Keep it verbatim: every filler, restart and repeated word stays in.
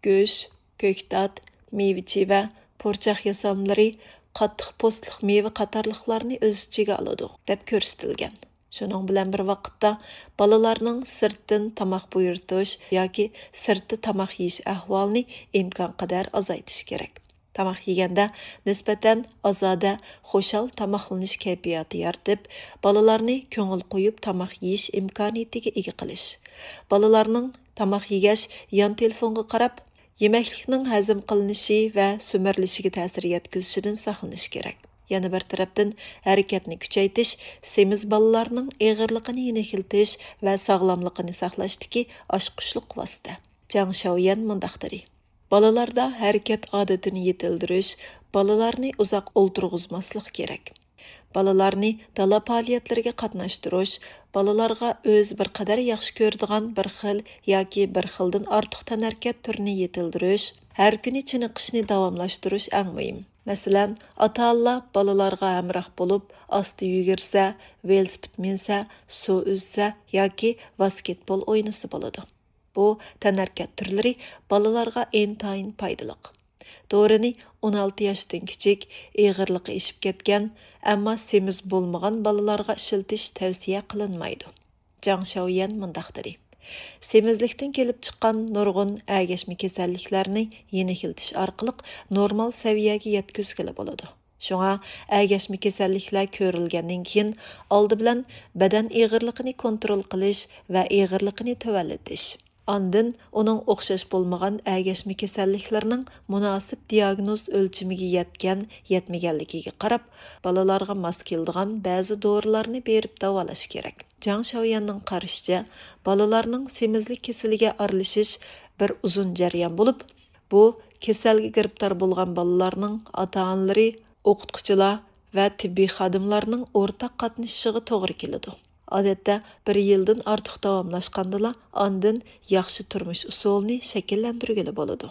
گۆش، كۆكتات، مېۋە-چېۋە، پۇرچاق ياسالمىلىرى، قاتتىق پوستلۇق مېۋە قاتارلىقلارنى ئۆز ئىچىگە ئالىدۇ، دەپ كۆرسىتىلگەن. شۇنىڭ بىلەن بىر ۋاقىتتا، بالىلارنىڭ سىرتتىن تاماق بۇيرۇتۇش ياكى سىرتتا تاماق يېيىش ئەھۋالىنى ئىمكانقەدەر ئازايتىش كېرەك. تاماق يېگەندە نىسبەتەن ئازادە، خۇشال تاماقلىنىش كەيپىياتى يارىتىپ، بالىلارنى كۆڭۈل قويۇپ تاماق يېيىش ئىمكانىيىتىگە ئىگە قىلىش. بالىلارنىڭ تاماق يېگەچ يان تېلېفونغا قاراپ، يېمەكلىكنىڭ ھەزىم قىلىنىشى ۋە سۈمۈرۈلۈشىگە تەسىر يەتكۈزۈشىدىن ساقلىنىش كېرەك. يەنە بىر تەرەپتىن، ھەرىكەتنى كۈچەيتىش سېمىز بالىلارنىڭ ئېغىرلىقىنى يېنىكلىتىش ۋە ساغلاملىقىنى ساقلاشتىكى ئاچقۇچلۇق ۋاسىتە. جاڭ شياۋيۈەن مۇنداق دېدى: بالىلاردا ھەرىكەت ئادىتىنى يېتىلدۈرۈش، بالىلارنى ئۇزاق ئولتۇرغۇزماسلىق كېرەك. بالىلارنى دالا پائالىيەتلىرىگە قاتناشتۇرۇش، بالىلارغا ئۆزى بىر قەدەر ياخشى كۆرىدىغان بىر خىل ياكى بىر خىلدىن ئارتۇق تەنھەرىكەت تۈرىنى يېتىلدۈرۈش، ھەر كۈنى چېنىقىشنى داۋاملاشتۇرۇش ئەڭ مۇھىم. مەسىلەن، ئاتا-ئانىلار بالىلارغا ھەمراھ بولۇپ، ئاستا يۈگۈرسە، ۋېلىسىپىت مىنسە، سۇ ئۈزسە ياكى ۋاسكېتبول ئوينىسا بولىدۇ. بۇ تەنھەرىكەت تۈرلىرى بالىلارغا ئىنتايىن پايدىلىق. دورىنى ئون ئالتە ياشتىن كىچىك، ئېغىرلىقى ئېشىپ كەتكەن، ئەمما سېمىز بولمىغان بالىلارغا ئىشلىتىش تەۋسىيە قىلىنمايدۇ. جاڭ شياۋيۈەن مۇنداق دېدى: سېمىزلىكتىن كېلىپ چىققان نۇرغۇن ئەگەشمە كېسەللىكلەرنى يېنىكلىتىش ئارقىلىق نورمال سەۋىيەگە يەتكۈزگىلى بولىدۇ. شۇڭا ئەگەشمە كېسەللىكلەر كۆرۈلگەندىن كېيىن، ئالدى بىلەن بەدەن ئېغىرلىقىنى كونترول قىلىش ۋە ئېغىرلىقىنى تۆۋەنلىتىش، ئاندىن ئۇنىڭ ئوخشاش بولمىغان ئەگەشمە كېسەللىكلەرنىڭ مۇناسىپ دىياگنوز ئۆلچىمىگە يەتكەن، يەتمىگەنلىكىگە قاراپ، بالىلارغا ماس كېلىدىغان بەزى دورىلارنى بېرىپ داۋالاش كېرەك. جاڭ شياۋيۈەننىڭ قارىشىچە، بالىلارنىڭ سېمىزلىك كېسىلىگە ئارىلىشىش بىر ئۇزۇن جەريان بولۇپ، بۇ كېسەلگە گىرىپتار بولغان بالىلارنىڭ ئاتا-ئانىلىرى، ئوقۇتقۇچىلار ۋە تېببىي خادىملارنىڭ ئورتاق قاتنىشىشىغا توغرا كېلىدۇ. ئادەتتە بىر يىلدىن ئارتۇق داۋاملاشقاندىلا، ئاندىن ياخشى تۇرمۇش ئۇسۇلىنى شەكىللەندۈرگىلى بولىدۇ.